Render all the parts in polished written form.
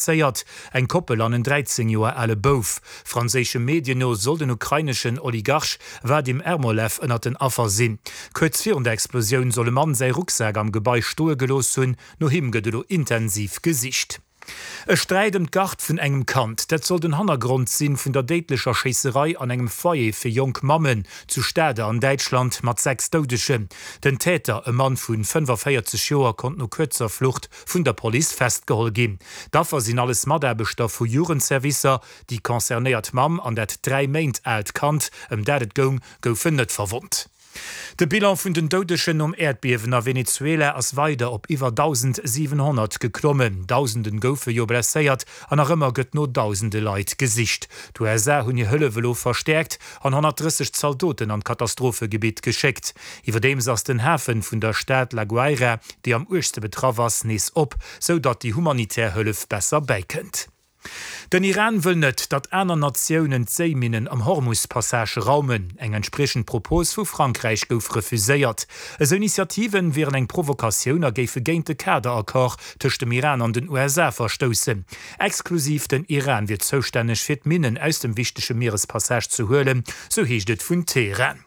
Blesséiert, eng Koppel an en 13 Joer ale Bouf. Franséische Medien no soll den ukraineschen Oligarch Wadim Ermolev ënnert den Affer sinn. Kuerz virun der Explosioun soll e Mann säi Rucksak am Gebai stoe gelooss hunn. No him gëtt elo intensiv gesicht. E Sträit ëm d'Gard vun engem Kand, dat soll den Hannergrond sinn vun der déidlecher Schéisserei an engem Foyer fir jonk Mammen zu Stade an Däitschland mat 6 Doudegen. Den Täter, e Mann vu 45 Joer, konnt no kuerzer Flucht vun der Police festgeholl ginn. D'Affer sinn alles Mataarbechter vu Jugendservicer. Déi concernéiert Mamm an dat 3 Méint aalt Kand, ëm dat et goung, goufen net verwonnt. De Bilan vun den Doudegen nom Äerdbiewen a Venezuela ass weider op iwwer 1.700 geklommen. Dausenden goufe jo blesséiert an nach ëmmer gëtt no dausende Leit gesicht. D'USA hunn hir Hëllef elo verstäerkt an 130 Zaldoten an d'Katastrophegebitt geschéckt. Iwwerdeems ass den Hafen vun der Stad La Guaira, déi am uergste betraff ass, nees op, sou datt déi humanitär Hëllef besser bäikënnt. Den Iran wëll net, datt aner Natiounen d'Séiminnen am Hormus-Passage raumen. Eng entspriechend Propos vu Frankräich gouf refuséiert. Esou Initiativen wieren eng Provokatioun a géife géint de Kaderaccord tëscht dem Iran an den USA verstoussen. Exklusiv den Iran wier zoustänneg fir d'Minnen aus dem wichtege Mierespassage ze huelen, sou heescht et vun Teheran.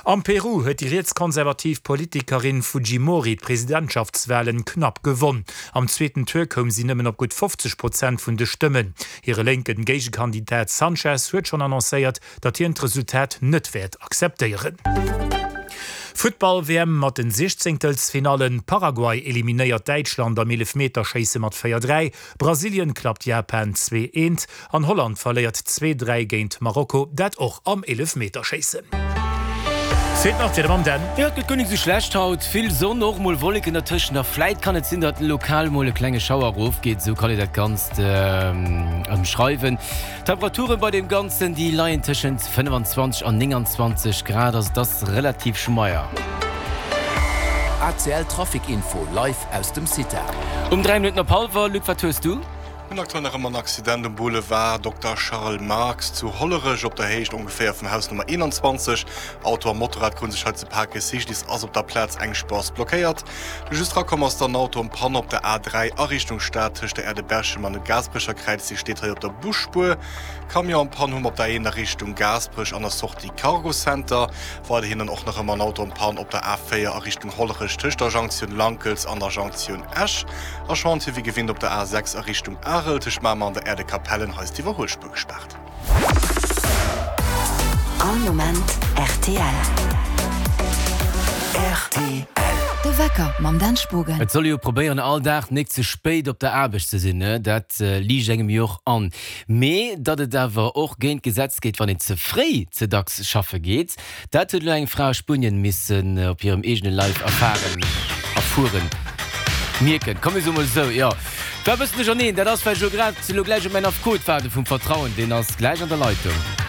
Am Peru huet déi rietskonservativ Politikerin Fujimori d'Presidentschaftswalen knapp gewonn. Am zweeten Tour koum si nëmmen op gutt 50 Prozent vun de Stëmmen. Hire lénken Géigekandidat Sanchez huet schonn annoncéiert, datt hien d'Resultat net wäert akzeptéieren. Futtball-WM mat den Siechzéngtelsfinallen, Paraguay eliminéiert Däitschland am Eelefmeterschéisse mat 4, 3, Brasilien klappt Japan 2, 1 an Holland verléiert 2, 3 géint Marokko, dat och am Eelefmeterschéissen. Feelt nach d'Wieder mam Dan. Jo, et gëtt guer nik sou schlecht haut, vill Sonn, och mol Wolleken dertëschent a vläit kann et sinn, datt lokal mol e klenge Schauer erofgeet, esou kann een dat Ganzt ëmschreiwen. D'Temperaturen bei deem Ganzen, déi leien tëschent 25 an 29 Grad, also et ass relativ schmeier. ACL Trafic Info live aus dem CITA. Um 3 Minutten op hallwer, Luc, wat hues du? Hunn aktuell nach ëmmer en Accident um Boulevard Dokter Charles Marx zu Hollerech, op der Héicht ongeféier vum Haus Nummer 21. Auto a Motorrad kruten sech hei ze paken. Cyclist ass op der Plaz, eng Spuer ass blockéiert. De just rakomm ass dann Auto en Panne op der A3 a Richtung Stad tëscht der Aire de Berchem an dem Gaasperecher Kräiz. Dee steet hei op der Busspuer. Camion en Panne hu mer op der A1 a Richtung Gaasperech an der Sortie Cargo Center. Weiderhin dann och nach ëmmer en Auto en Panne op der A4 a Richtung Hollerech tëscht der Jonktioun Lankels an der Jonktioun Esch. A Chantier wéi gewinnt op der A6 a Richtung Arel tëscht Mamer an der Aire de Capellen. Hei ass d'Iwwerhuelspuer gespaart. All Moment rtl. Rtl. De Wecker mam Dan Spogen. Et soll ee jo probéieren all Dag nik ze spéit op der Aarbecht ze sinn, ne? Dat liicht engem jo och an. Mee datt et awer och géint d'Gesetz geet, wann een ze fréi ze dacks schaffe geet, Dat huet elo eng Fra a Spuenien missen op hirem eegene Leif erfaren, erfueren, mierken. Komm mir soe mol esou, jo, war e bëssen duercherneen. Dat ass, well ech elo grad elo gläich op mäin Affekot waarde vum Vertrauen. Deen ass gläich an der Leitung.